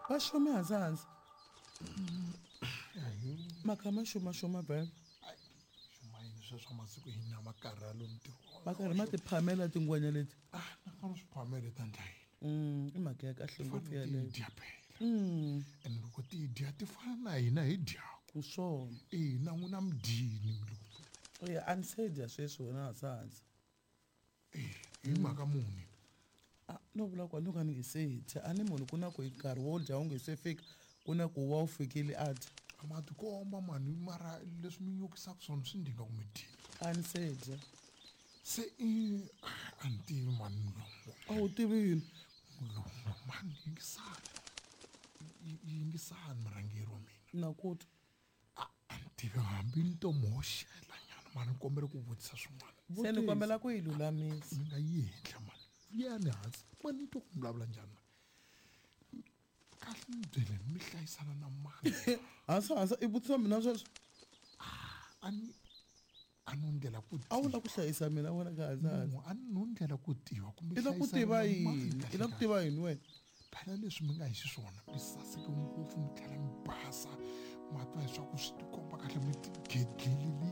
Va xume hansi hansi. Maka ma xuma xuma vhele. Xuma yini sweswo masiku hina ma karhalo ntirho. Va karhi ma ti phamela tingwenya leti. Ah, na fana swi phamela ta ndla yini? I mhaka ya kahle ngopfu yaleyo. Ti dya phela. Ene loko ti dya ti fana na hina hi dyaku. Swona. Eh, na n'wina mi dyini milungu. Eya, a ni se dya sweswi wena hansi hansi. Eh, hi mhaka muni? A no vula ku a no ka ni nge se dya. A ni munhu ku na ku hi nkarhi wo dya wu nge se fika, ku na ku wa wu fikile a dya. A ma tikomba mani mara leswi mi nyukisaka swona swi ndinga ku mi dyini. A ni se dya. Se i a ni tivi mani mulungu. A wu tivi yini? Mulungu mani yingisani. Yingisani murhangeri wa mina. Na ku twa. A ni tivi hambi ni to mi hoxela nyana mani ni kombela ku vutisa swin'wana. Se ni kombela ku yi lulamisa. Mi nga yi henhla mani. Vuyani hansi. Mani ni twa ku mi vulavula njhani mani. Kahle ni byeleni mi hlayisana na mani. Hansi hansi i vutisa mina sweswo. A ni a no ndlela ku A wu la ku hlayisa mina wena ka hansi hansi. A no ndlela ku tiva kumbe I la ku tiva yini? I la ku tiva yini wena? Phela leswi mi nga hi xiswona mi saseke ngopfu mi tlhela mi basa ma twa leswaku swi tikomba kahle mi tigedlelelini.